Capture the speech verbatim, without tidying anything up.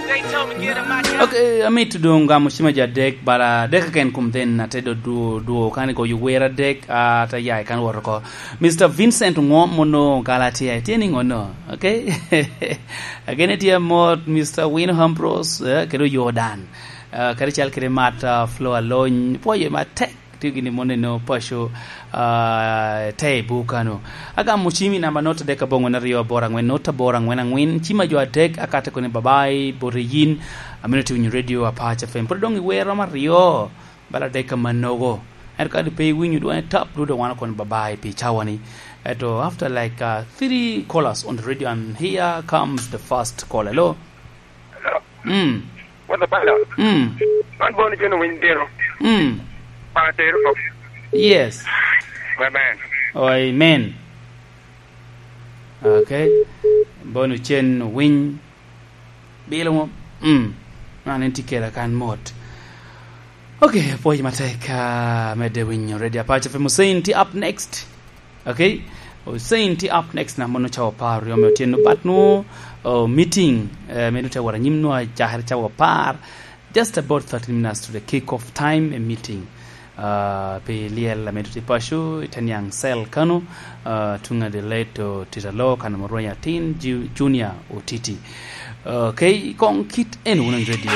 Ok, amito doŋ gamo cima jo adek, bala adek keken kom then ate do dwo, dwo kan igoyo wer adek, ah, ate ya i kan wot oko. Mister Vincent Ŋom mono Galatia, itye ni ŋono, ok? Agene tye amot, Mister Win Ambrose, eh, kede Jordan. Ah, kadi cal kede Mat, ah, Flo Alony, pwoye matek. Tye gin i moni no paco, ah, te i buk kano. Agamo cimi namba not adek abongwen aryo aboro angwen not aboro angwen angwen. Cima jo adek akate koni babai, bote yin. Amino ti winyo radio Apac F M. Pwod dong i wer romo aryo, bala adek amanogo. Ento ka di pe iwinyo dwong tap, dudo wano koni babai pi cawani. Eto after like, uh, three callers on the radio, and here comes the first caller. Hello? Mm. What's up, Panda? Mm. Man Boni Jeno Winy Dino. Mm. Panda Tero. Yes. Amen. Oh, amen. Okay. Boni Chen Winy. Bilo mo. Mm. Man en tye kede kan mot. Okay, apwoyo matek, ah, medde winyo Radio Apac F M. Hussein tye up next. Okay? Hussein tye up next na mono cawa apar oryo me otyeno, but nwo, oh, meeting, eh, medo te wara nyim nwo acakere cawa apar. Just about thirteen minutes to the kick off time, a meeting. Ah, pi lyel amedo tye paco, i te niaŋ cell kano, ah, tuŋ a the late, oh, Titalo, kan Murwenya Tin, Ju-, Junior Otiti. Okay, kong kit en wunu i radio.